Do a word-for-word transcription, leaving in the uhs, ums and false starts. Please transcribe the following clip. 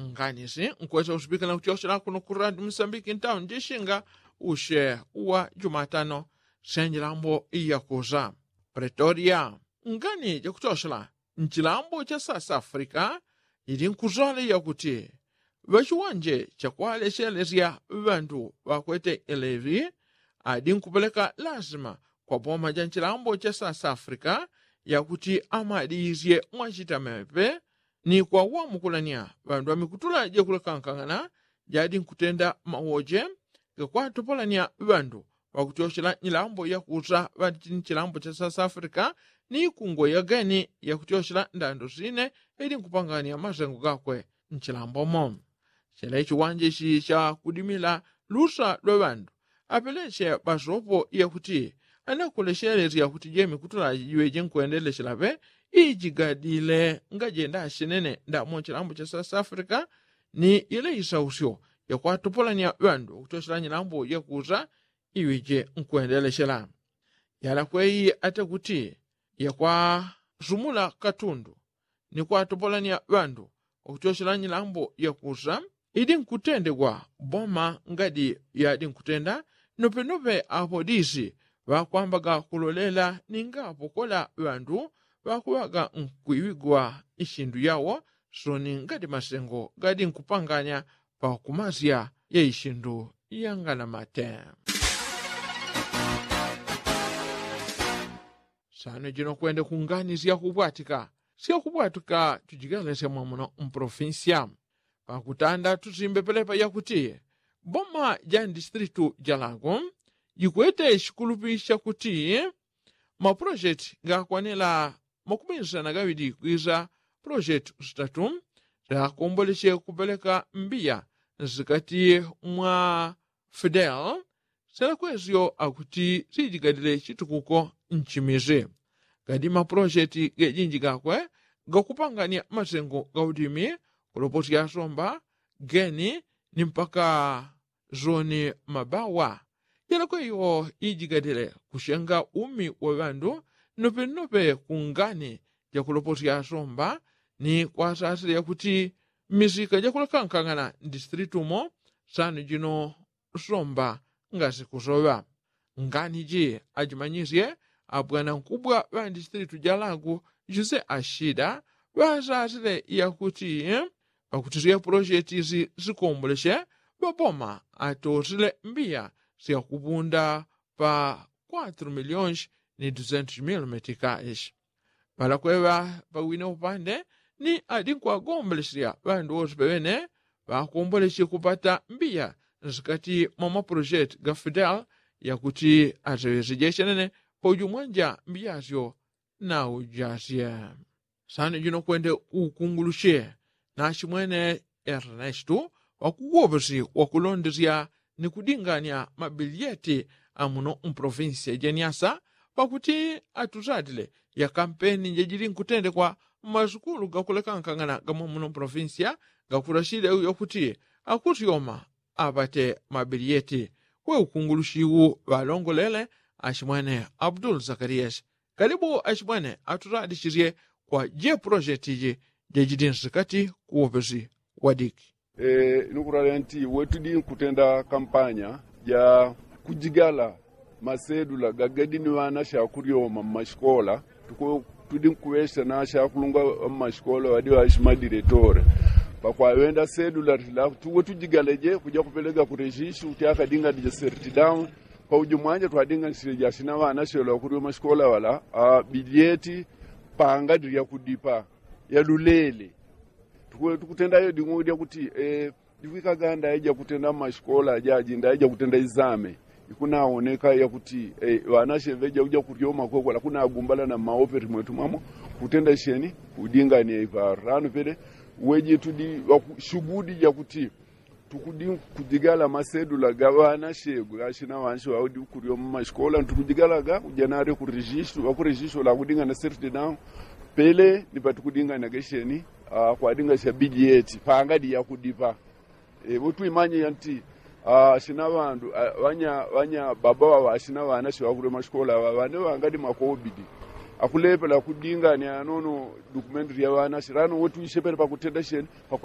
Nganisi nkwesa usipikila kutyoshela kuno kuradi musambiki ntauni jishinga ushe uwa jumatano sya njilambo iyakusa. Pretoria. Ngani jakutyoshela nchilambo cha sasafrika ili nkusole yakuti ŵachiwanje chakwaleshelesya ŵandu ŵakwete elevi adi nkupeleka lazima kwa boma ja nchilambo cha sasafrika yakuti amadiisye mwachitamepe ni kwawamukulanya ŵandu ŵamikutula jakulekankang'ana jadi nkutenda mawoje gakwatopolanya ŵandu ŵakutyoshela nyilambo yakusa ŵati chini chilambo cha sasafrika ni ikungwe yageni yakutyoshela ndando sine ili nkupanganya masengo gakwe nchilambomo. Chela ichiwanje ichi chakudimila lusa lwa ŵandu apeleche ŵasopo yakuti anakoleshelesya kuti jemikutula jiŵeje nkwendelechela ŵe ijigadile ngajenda ashenene ndamo chilambo cha sasafrika ni yele isausyo yakwatopolanya ŵandu ŵakutyoshela nyilambo yakusa iŵeje nkwendelechela. Yalakweyi ata kuti yakwasumula katundu ni kwatopolanya ŵandu ŵakutyoshela nyilambo yakusa idi nkutendegwa boma ngadi yadi nkutenda nopenope apolisi ŵakwambaga kulolela ninga apokola ŵandu ŵakuŵaga nkwiŵigwa ishindu yawo soni ngadi masengo gadi nkupanganya pakumasya ya ishindu yanganamate. Sano jino kwende kungani syakubwatika syakubwatika tujigelesya mwamuno mpolofinsya pakutanda tusimbe pelepa yakuti boma ja ndistritu ja lago jikwete shikulupi shakuti mapulojeti gakwanela makuminsana gaŵili kwisa pulojeti usitatu syakomboleche kupeleka mbiya nsikati mwa fidel selakwesyo akuti sijigadile chitukuko nchimisi gadi mapulojeti gejinji gakwe gakupanganya masengo gaudimi kuloposya somba geni ni mpaka zoni mabawa jelakweyo ijigadile kushenga umi wa ŵandu nopenope kungani jakuloposya somba ni kwasasile yakuti mmisika jakulakankang'ana ndistritu mo sano jino somba ngasikusoŵa. Ngani ji ajimanyisye abwanankubwa ŵa ndistritu ja lagu jose ashida ŵasasile yakuti pakuti sya pulojeti isi sikomboleche ŵaboma atosile mbiya syakupunda pa kwatru milionshi ni dusentu mil metikaishi. Ŵalakweŵa pawine upande ni adi nkwagomboleche ŵandu wose peŵene ŵakomboleche kupata mbiya nsikati mwa mapulojeti ga fidel yakuti aseŵeseje chenene pauju mwanja mbiyasyo naujasye. Sano jino kwende ukunguluche nachimwene ernestu wakuwoposi wakulondesya ni kudinganya mabiliyeti amuno mpolofinsiya ja nyasa pakuti atusatile ya kampeni jajili nkutendekwa mmasukulu gakulekankang'ana gamwamuno mpolofinsiya gakulasile uyo kuti akusyoma apate mabiliyeti. Kwe ukungulushi wu ŵalongolele achimwene abdul zakariyasi kalibu achimwene atusadishisye kwa je pulojeti ji jajidinsi kati kuwopesi wadiki. Nukuralya nti wetudi nkutenda kampanya ja kujigala masedula gagadi ni ŵana shakuryoma mmashikola tudi nkuŵesha na shakulungwa mmashikola wadi ŵashi madiretore pakwaŵenda sedula tila tuwe tujigaleje kuja kupelega kurejishi kuti akadinganije sertidaun. Pauju mwanja twadinganishile jashina ŵana shelo ŵakuryoma shikola ŵala bilyeti pangadi lyakudipa yalulele. Tukutenda iyo ding'o dyakuti ikwikaga ndaija kutenda mmashikola ajaji ndaija kutenda izame ikunawoneka yakuti ŵanashe ŵeja uja kuryoma kwekwe lakunagumbala na mmaopeti mwetu mwamo kutenda sheni kudingania iparo lano pele weji tudi ŵakushugudi jakuti tukudi kujigala masedula ga ŵanashe gashina ŵanshi ŵaudi kuryoma mmashikola ntukujigalaga uja nali kurejisto ŵakurejisto lakudingana serti nao pele ni patukudingana gesheni kwadingasha bilyeti pangadi yakudipa. Ŵotwimanye yanti ashina ŵandu ŵanya baba ŵaŵa ashina ŵanashe ŵakuryoma shikola ŵaŵa ŵane ŵangadi makobidi akulepela kudingania anono dukumenti lya ŵanashe lano ŵotwishepele pakutenda sheni.